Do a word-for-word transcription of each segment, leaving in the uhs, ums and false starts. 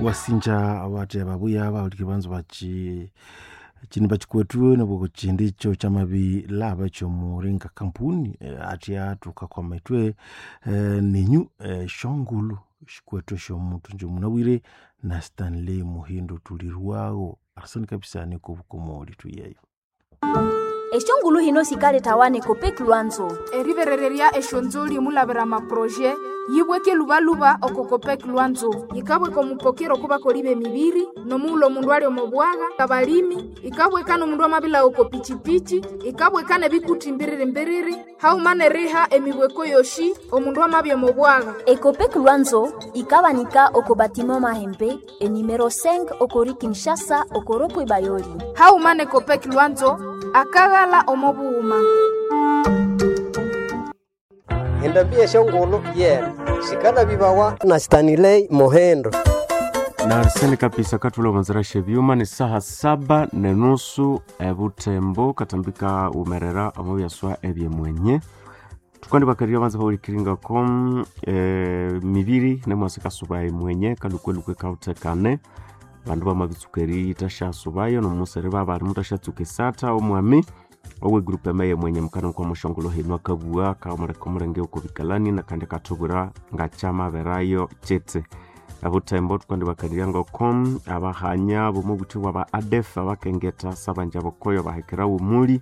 Wasinja abatya babuya bahulikiri banzu bachi chini bachikwethu nabwo chindi icho kyamabilaba ekyomuringa kampuni eh, atya thukakwama ithwe eh, ninyu eh, shongolo shikwethu esyomutu nje munabwire na Stanley Muhindo tulirwago arsene kabisa nikobukomoli tuyeyo. Eshongulu hino sikale Copec Lwanzo. Eriberererya eshonzoli omulabira amaproje yibweke lubaluba oko Copec Lwanzo yikabweka omupokero okubakoli b'emibiri nomughulhu omundu ali omo bwagha abalimi ikabweka n'omundu amabila oko pichipichi ikabweka n'ebikuthi mbiriri-mbiriri haghuma n'eriha emibweko yoshi omundu amabya omo bwagha. Ecopec Lwanzo ikabanika oko batiment Mahembe enumero cinq okori Kinshasa okoropwe Bayoli. Haghuma ne Copec Lwanzo akaghala omo bughuma. Endambi eshongolo yena sikalabibawa na Stanley Mohendo. Na arsene kabisa katula manzara shebyuma ni saha saba nenusu ebutembo katambika umerera omubyaswa ebyemwenye tukandi bakarira banza bahulikiringako e, mibiri nemwasi kasuba emwenye kalukwe kautekane bandu bamabitsuka eritashyasubayo nomusere babali mutashatsuka esata omwami owe group emaye mwenye mukana kwa mushongolo hinu akabua kaomuleka omulenge okobikalani nakandi akatubwira ngakyamaberayo kyete abutembo tukandi bakalirya ngoko abahanya bomubuthi bwa adef abakengeta sabanja bokoyo bahekera umuli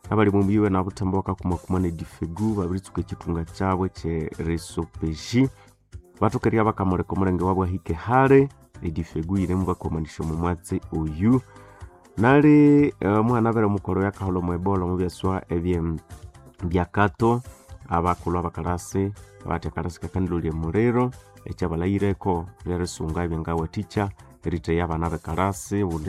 abali mubiwe na butembo bakakumakuma ne difegu babiritsuka ekitunga kyabwe kye resopeji batokerya bakamuleka omulenge wabwe ahike hale edifegu yiremu bakomanisha omu mwatsi oyu nali omwana abere omukolo yakaholha omu ebola omu byaswa ebye byakato abakulhu abakalasi abathi akalasi kakandilolya emuliro ekyabalayireko lyerisunga ebyangawathikya eritheya abana bekalasi obundi.